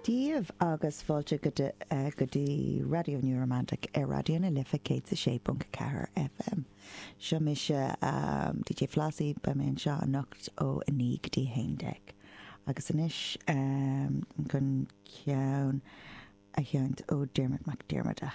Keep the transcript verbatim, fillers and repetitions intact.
Daoibh agus fáilte go go dtí Raidió New Romantic ar Raidió na Life céad a sé ponc ceathair FM. Seo mise um, DJ Flossie beidh mé anseo anocht ó a naoi go dtí haon déag. Agus anois um, chun ceann a sheinnt ó Dermot McDiarmada.